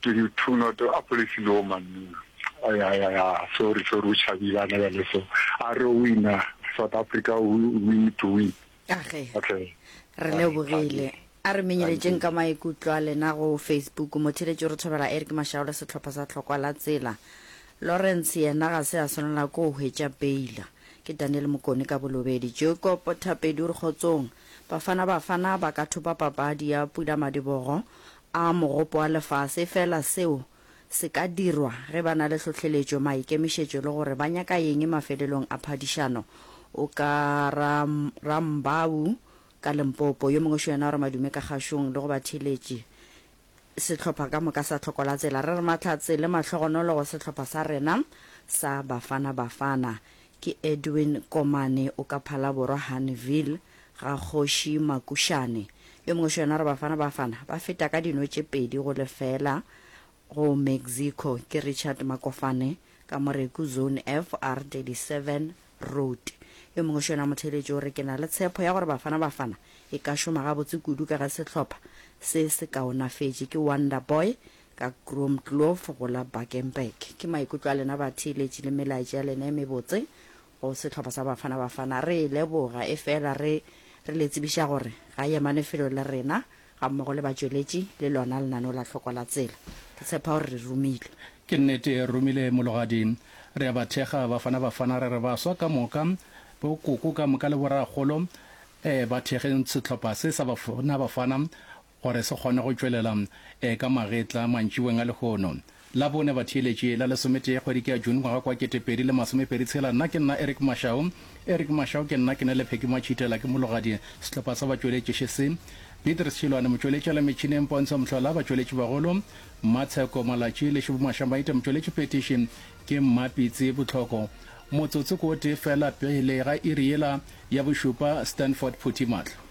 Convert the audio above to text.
22 not a police no man. Ya ya ya sorry sorry o tšhabile ana bjale so a re wina South Africa we, we need to win. Age. Okay. Re lebogile. A re menyeletšeng ka maikutlo a lena go Facebook. Motheeletši o re thobela Eric Mashao le sehlopha sa Tlhokwa la Tsela. Lawrence yena ga se a swanela ke go hwetša beila. Ke Daniel Mokone ka Bolobedi. Jacob Thapedi o re kgotsong. Bafana Bafana ba ka thopa papadi ya pulamadibogo a Mogopo wa Lefase efela seo se ka dirwa ge ba na le hlohleletšo, maikemišetšo le gore ba nyaka eng mafelelong a phadišano. O ka ra Rambau ka Limpopo. Yo mongwe šo yena o re madume ka kgašong le go batheeletši sehlopha ka moka sa Tlhokolatsela. Re re mahlatse le mahlogonolo go sehlopha sa rena sa Bafana Bafana. Ke Edwin Komane o ka Phalaborwa Haneville ga Kgoši Makušane. Yo mongwe šo yena o re Bafana Bafana ba feta ka dino tše 2 go lefela go Mexico. Ke Richard Makofane ka Moreku Zone F R37 Road. Yo mongwe šo yena motheeletši o re ke na le tshepo ya gore Bafana Bafana e ka šoma gabotse kudu ka ge sehlopha se se kaonafetše. Ke Wonder Boy ka Kroomkloof go la Bakenberg. Ke maikutlo a lena batheeletši le melaetša ya lena e mebotse go sehlopha sa Bafana Bafana. Re e leboga efela re re le tsebiša gore ga e emane felo le rena gammogo le batšweletši le lona lenaneo la Hloko la Tsela. Ke tshepa gore re romile. Ke nnete re romile Mologadi. Re a ba thekga Bafana Bafana re re baswa ka moka, bo koko ka moka le borakgolo eh ba thekgeng sehlopha se sa Bafana Bafana gore se kgone go tšwelela ka magetla mantšiboeng a lehono. Labone batheeletši la lesometee kgwedi ke ya June ngwaga kwa 2026. Nna ke nna Eric Mashau. Eric Mashau ke nna ke na le Pheki Matšhitela ke mologadi sehlopha sa batšweletši še se. Beatrice Tšhilwane motšweletši a le metšhineng Pontsho Mohlola batšweletši bagolo Mmatsheko Malatši le Šubu Mašamaite motšweletši phethiši ke Mmapitsi Botlhoko. Motsotso ke o tee fela pele ga iri yela ya bošupa Stanford Phuthi Mahlo.